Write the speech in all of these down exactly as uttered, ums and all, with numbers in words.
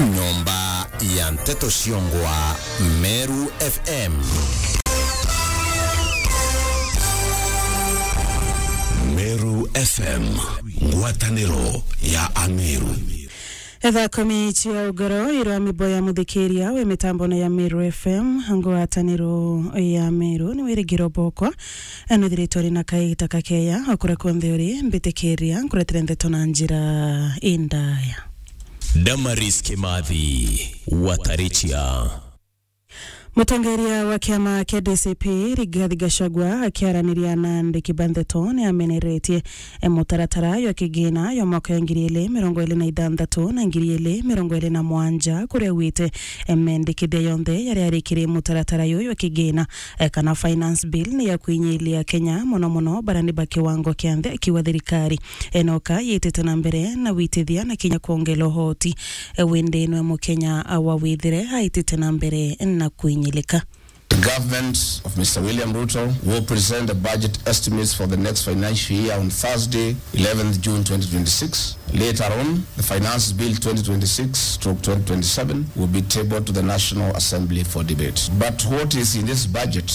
Nyomba ya nteto ciongwa Meru F M. Meru F M, ngwataniro ya Ameru. Etha komi cia ugoro irwa mibo ya muthikiria we mitambone ya Meru F M, ngwataniro ya Meru ni wirigiro bokwa. Eno thiritwari na kaita kakeya okura konthe uri mbitikiria nkuretire ndeto na njira indaya. Damaris Kimathi, Watarichia. Mutongeria wa kiama kia D C P, Rigathi Gachagua, akiaraniria na andiki ba ndeto, ni ameneretie, e, mutaratara jwa kigina jwa mwaka ya ngiri ili mirongo ili na ithanthatu na ngiri ili mirongo ili na mwanja, kuria augite, e, mendikithia yonthe jaria ari kiri mutaratara juju jwa kigina, e, kana finance bill, ni ya kwinyilia Kenya, mono mono barani ba kiwango kia nthi, akiuga thirikari enoka yitite na mbere na witithia na kinya kwongela uhoti, e, windi nwe Mukenya, a, wa withire aitite na mbere na kwinyilika. The government of Mister William Ruto will present the budget estimates for the next financial year on Thursday, eleventh June twenty twenty-six. Later on, the Finance Bill twenty twenty-six stroke twenty twenty-seven will be tabled to the National Assembly for debate. But what is in this budget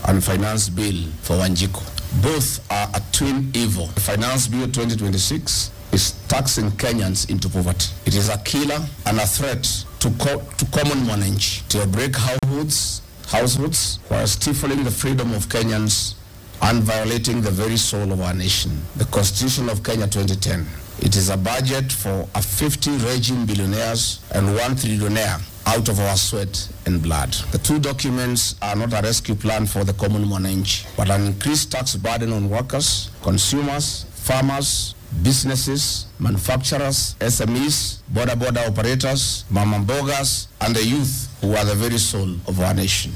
and Finance Bill for Wanjiko? Both are a twin evil. The Finance Bill twenty twenty-six is taxing Kenyans into poverty. It is a killer and a threat to co-, to common mwananchi, to break households, households, while stifling the freedom of Kenyans and violating the very soul of our nation, the Constitution of Kenya twenty ten. It is a budget for a fifty regime billionaires and one trillionaire out of our sweat and blood. The two documents are not a rescue plan for the common mwananchi, but an increased tax burden on workers, consumers, farmers, businesses, manufacturers, S M Es, boda boda operators, mama mbogas, and the youth, who are the very soul of our nation.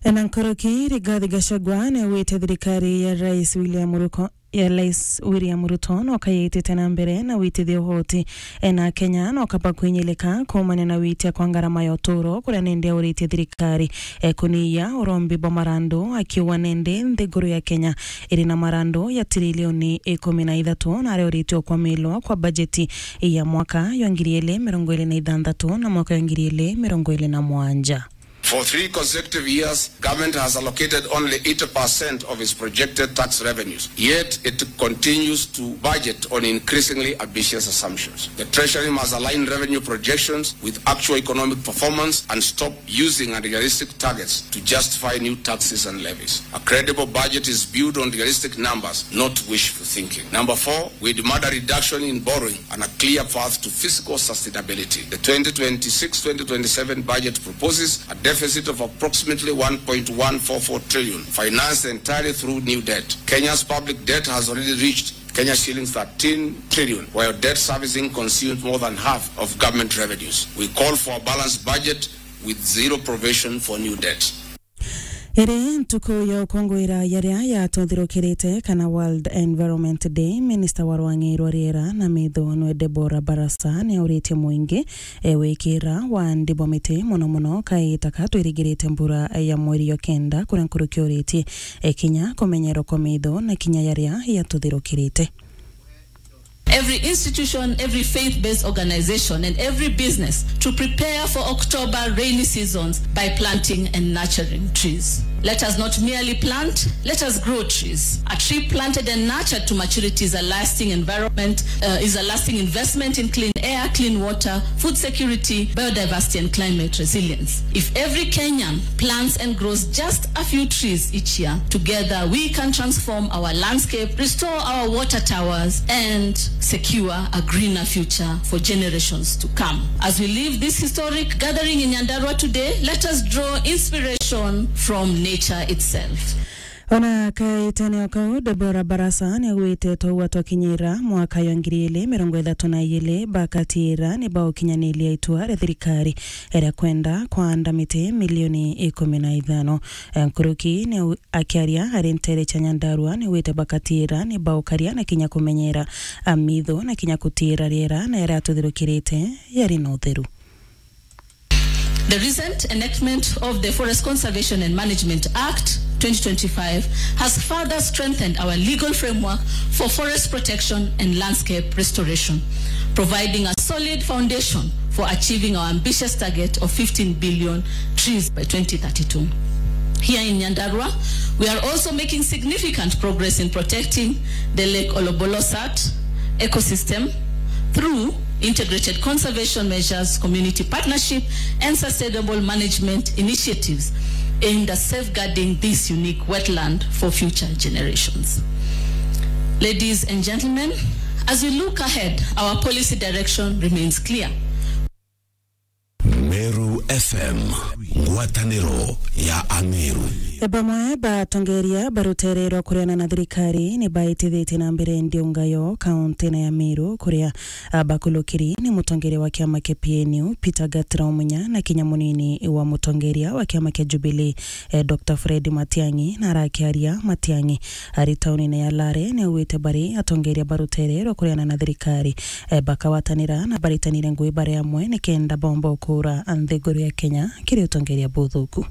Ena nkoroki, Rigathi Gachagua ni augite thirikari ya Rais William Ruto ya Rais William Ruto no kayitite na mbere na witithia uhoti, e, na Kenya no kaba kwinyilika kuumania na witia kwa ngarama ya uturo, kuria nindi auritie thirikari, e, kuniia urombi bwa marandu, akiuga nindi nthiguru ya Kenya iri na marandu ya tirilioni ikumi na ithatu, na aria uritie ukwamilwa kwa bajeti ya mwaka ya ngiri ili mirongo ili na ithanthatu na mwaka ya ngiri ili mirongo ili na mwanja. For three consecutive years, government has allocated only eighty percent of its projected tax revenues, yet it continues to budget on increasingly ambitious assumptions. The Treasury must align revenue projections with actual economic performance and stop using unrealistic targets to justify new taxes and levies. A credible budget is built on realistic numbers, not wishful thinking. Number four, we demand a reduction in borrowing and a clear path to fiscal sustainability. The twenty twenty-six twenty twenty-seven budget proposes a deficit of approximately one point one four four trillion, financed entirely through new debt. Kenya's public debt has already reached Kenya shillings thirteen trillion, while debt servicing consumes more than half of government revenues. We call for a balanced budget with zero provision for new debt. Iri ntuku ya ukunguira yaria yatuthirukirite, kana World Environment Day, minista wa rwang'i rwa riera na mithunwe Deborah Barasa ni auritie muingi, e, wikira wa ndibo miti, mono mono kaita ka twirigirite mbura ya mweri jwa kenda, kuria nkuruki uritie, e, kinya kumenyerwa kwa mithu na kinya yaria yatuthirukirite. Every institution, every faith-based organization, and every business to prepare for October rainy seasons by planting and nurturing trees. Let us not merely plant, let us grow trees. A tree planted and nurtured to maturity is a lasting environment, uh, is a lasting investment in clean air, clean water, food security, biodiversity, and climate resilience. If every Kenyan plants and grows just a few trees each year, together we can transform our landscape, restore our water towers, and secure a greener future for generations to come. As we leave this historic gathering in Nyandarua today, let us draw inspiration from nature itself. Ona kaitene o kau, Deborah Barasa ni augite, twaua twakinyira mwaka ya ngiri ili mirongo ithatu na ili, bakatira ni baukinyaniria itua ria thirikari ria kwenda kwanda miti milioni ikumi na ithano. Nkuruki ni au-, akiaria ari ntere cia Nyandarua, ni augite bakatira ni baukaria na kinya kumenyera amithu na kinya kutira riera na yaria atuthirukirite yari na utheru. The recent enactment of the Forest Conservation and Management Act twenty twenty-five has further strengthened our legal framework for forest protection and landscape restoration, providing a solid foundation for achieving our ambitious target of fifteen billion trees by twenty thirty-two. Here in Nyandarua, we are also making significant progress in protecting the Lake Olobolosat ecosystem through integrated conservation measures, community partnership, and sustainable management initiatives aimed at safeguarding this unique wetland for future generations. Ladies and gentlemen, as we look ahead, our policy direction remains clear. Meru F M, ngwataniro ya Ameru. Bamwe batongeria ba rutere rwa kureana na thirikari ni baitithitie na mbere ndiungayo kaunti-ini ya Meru, kuria, ah, bakulukiri ni mutongeria wa kiama kia P N U, Peter Gatira Omunya, na kinya munini wa mutongeria wa kiama kia Jubilee, eh, Doctor Fred Matiang'i. Na arakiaria, Matiang'i ari tauni-ini ya Lare, ni augite bari atongeria ba rutere rwa kureana na thirikari, eh, bakagwatanira na baritanire ngui bari amwe nikenda bomba ukura nthiguru ya Kenya kiri utongeria buthuku.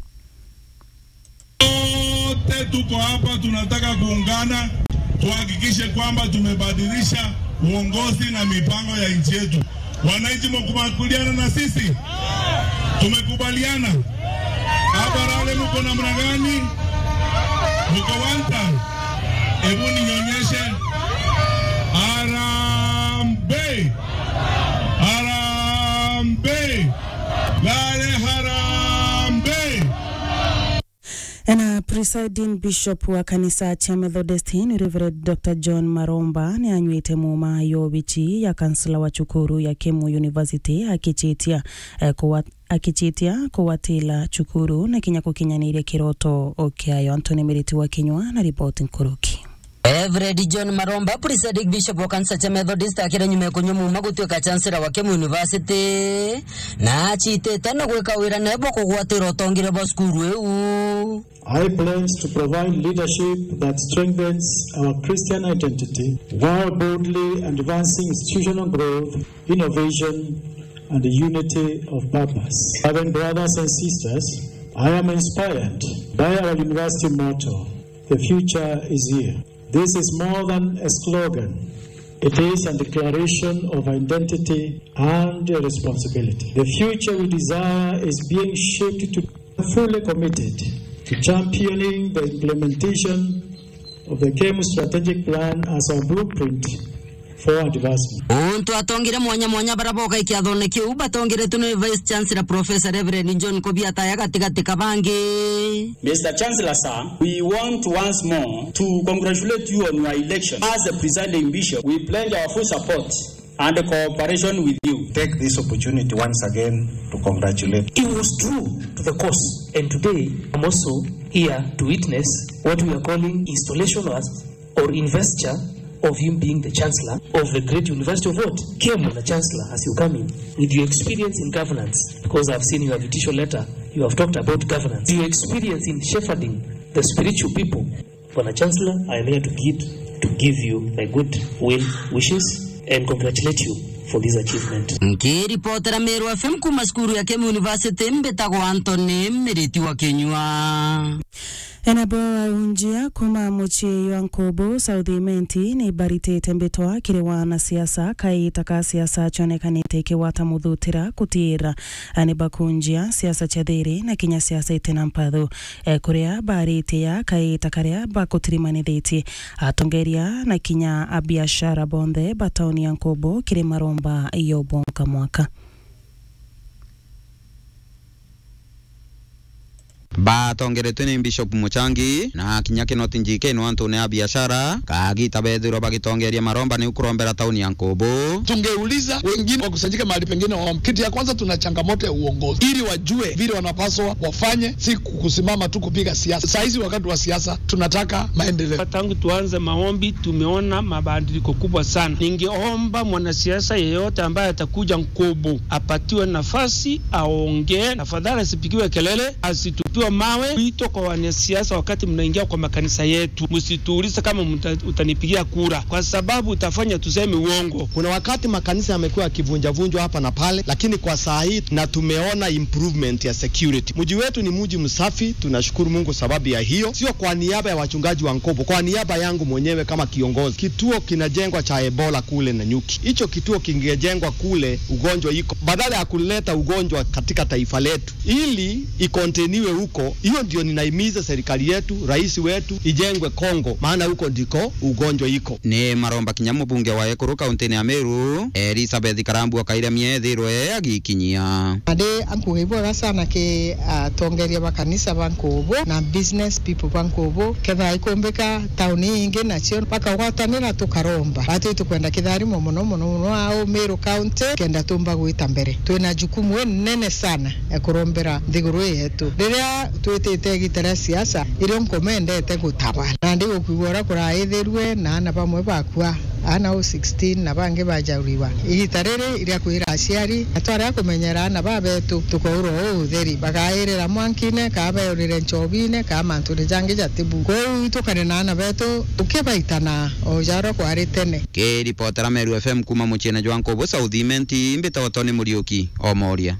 Wote tuko hapa, tunataka kuungana, tuhakikishe kwamba tumebadilisha uongozi na mipango ya nchi yetu. Wananchi, mkubaliana na sisi? Tumekubaliana? Hapa Lare mko namna gani? Mko one time? Hebu ninyonyeshe. Harambee! Harambee! Lare harambee! Ena presiding bishop wa kanisa cia Methodist ni Reverend Doctor John Maromba ni anywite muma yo bichi ya kansela wa cukuru ya Kemu University akichitia, eh, kuwa-, akichitia kuwatila cukuru na kinya gukinyaniria kiroto kiayo. Anthony Miriti wa Kinyua na ripoti nkuruki. Reverend John Maromba, presiding bishop wa kanisa cia Methodist, akira nyuma ya kunywa muma gutuika chancellor wa Kemu University, na achitite na gwika wira nebo kugwatira utongeria bwa cukuru iu. I pledge to provide leadership that strengthens our Christian identity while boldly advancing institutional growth, innovation, and unity of purpose. Loving brothers and sisters, I am inspired by our university motto, "The future is here." This is more than a slogan. It is a declaration of identity and responsibility. The future we desire is being shaped to fully committed to championing the implementation of the Kemu strategic plan as our blueprint for advancement. Untu atongire mwanya mwanya bara boka ikiathone kiu, batongiretwe ni Vice Chancellor Professor Reverend John Kobiataya gatigati ka bangi. Mister Chancellor, sir, we want once more to congratulate you on your election. As the presiding bishop, we pledge our full support and cooperation with you. Take this opportunity once again to congratulate. It was true to the cause, and today I'm also here to witness what we are calling installation of or investiture of him being the chancellor of the great university of what? Kemu. The chancellor, as you come in, with your experience in governance, because I've seen your invitation letter, you have talked about governance. Your experience in shepherding the spiritual people. Bwana Chancellor, I am here to give, to give you my good will wishes and congratulate you for this achievement. Nkiripotera Meru F M kuma cukuru ya Kemu University, mbitagwa Anthony Miriti wa Kinyua. Enabo aunjia kuma mucii jwa Nkubu South Imenti ni baritite mbitwa kiri wanasiasa kaita ka siasa cionekanite ikigwata muthutira kutiira ani bakunjia siasa cia thiri na kinya siasa itina mpathu. E, kuria baritia kaita karia bakutirimanithitie atongeria na kinya abiashara bonthe ba tauni ya Nkubu kiri maromba yo bwonka mwaka. Batongeretwe ni Bishop Muchangi na kinya Kinoti Njikeno antune a biashara, kagita bethirwa bagitongeria maromba ni ukurombera tauni ya Nkubu. Tungeuliza wengine wakusanyike mahali pengine waombe. Kitu ya kwanza, tuna changamoto ya uongozi, ili wajue vile wanapaswa wafanye, si kusimama tu kupiga siasa. Saa hizi wakati wa siasa, tunataka maendeleo. Tangu tuanze maombi, tumeona mabadiliko kubwa sana. Ningeomba mwanasiasa yeyote ambaye atakuja Nkubu apatiwe nafasi aongee. Tafadhali asipigiwe kelele, asitupiwe Mawe wito kwa wanasiasa, wakati mnaingia kwa makanisa yetu, msituulize kama mta-, utanipigia kura, kwa sababu utafanya tuseme uongo. Kuna wakati makanisa yamekuwa yakivunjavunjwa hapa na pale, lakini kwa saa hii na tumeona improvement ya security. Mji wetu ni mji msafi, tunashukuru Mungu sababu ya hiyo. Sio kwa niaba ya wachungaji wa Nkobo, kwa niaba yangu mwenyewe kama kiongozi. Kituo kinajengwa cha Ebola kule Nanyuki. Hicho kituo kingejengwa kule ugonjwa iko. Badala ya kuleta ugonjwa katika taifa letu, ili ikonteniwe huko. Hiyo ndio ninahimiza serikali yetu, rais wetu, ijengwe Kongo, maana huko ndiko ugonjwa iko. Ni maromba kinya mubunge wa Ekuru kaunti-ini ya Meru, Elizabeth Karambu Wakairamia ethirwe agikinyia. Ade ankuga ibwega sana ki atongeria ba kanisa ba Nkubu na business people ba Nkubu. Ketha ikumbika tauni ingi nacio bakagwatanira tukaromba. Batu tukwenda kitharimo muno muno muno au Meru County kenda tumba gwita mbere. Twina jukumu inene sana ya kurombera nthiguru ii yetu. Riria twitite igita ria siasa, irio nkomendete gutaba. Na ndi gukwigua uria kuraithirue na ana bamwe bakua, ana u sixteen na bangi bajauriwa. Igita riri iria kwira aciari, na twaria kumenyera ana babetu, tukaurwa uu utheri. Bagairira mwankine, kaa beurire nchobine, kaa mantune jangi jatibu. Kwou itukare na ana betu, tukibaitana, o jarwa kwari tene. Kiripotera Meru F M kuma muciene jwa Nkubu South Imenti, mbitagwa Tony Muriuki, Omoria.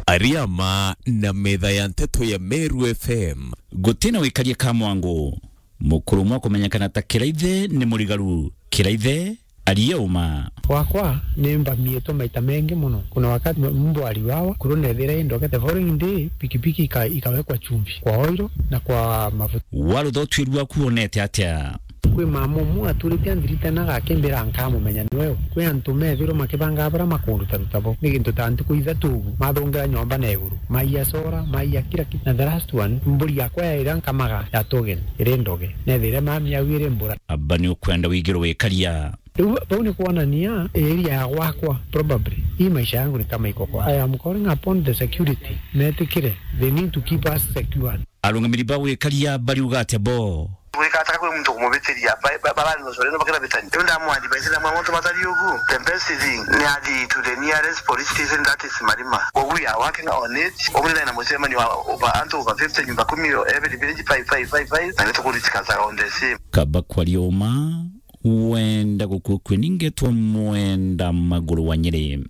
Ariama na metha ya nteto ya Meru F M. Gutina wikaria ka mwangu. Mukuru umwe kumenyekana ta Kiraithe ni murigaru. Kiraithe, aria uma. Gwakwa ni mbamiitwe maita mengi muno. Kuna wakati m-, mbu aliwawa, kuru nethira indoge. The following day, pikipiki ika-, ikawekwa chumvi kwa oil na kwa mafuta. Warutha utuiri waku wonete atia? Kwi mama umwe aturite andirite na gakimbira nkamumenya ni we u. Kwi antu methirwe makibangaa baria makunduta ruta bo. Ni gintu ta ntuku ithatu ugu, mathungira nyomba na iguru. Maiya sora, maiya kila kitu. Na the last one, mburi yakwa ya iria nkamaga ya togen, iri ndoge. Nethire mami au iri mbura. Aba ni ukwenda wigirwe wikaria. Riu bau ni kwonania area ya gwakwa, probably. Hii maisha yangu ni kama iko kwa. I am calling upon the security. Metikire. They need to keep us secure. Arungamiri ba wikaria bariuga atia bo? Gwika ataka kwi muntu kumubitiria, ba-, ba-, barari no sore no bakira bitani. Riu ndamu advise na mwa muntu matari ugu. The best thing ni athi to the nearest police station, that is Marima. We are working on it. Omuri na mucemanio wa over, antu over fifty, nyumba kumi, every village five, five, five, five. Na nitukuritika on the same. Kaba kwaria uma, wenda gukua kwe ningetwa Mwenda Maguru wa Nyeri.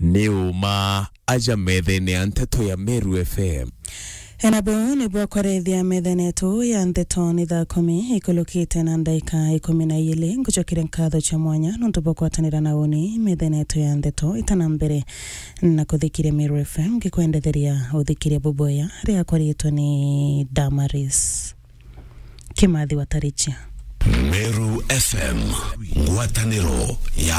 Ni uma aja methene ya nteto ya Meru F M. Ena buu nibwo kwarethia methene yetu ya nteto ni thaa kumi ikulukite na ndaika ikumi na iili. Ngucokeria nkatho cia mwanya nontu bwa kwatanira na uni methene yetu ya nteto itana mbere na kuthikiria Meru F M, ngikwendetheria uthikiria buboya riakwa riitwa ni Damaris Kimathi wa Tarichia. Meru F M, ngwataniro ya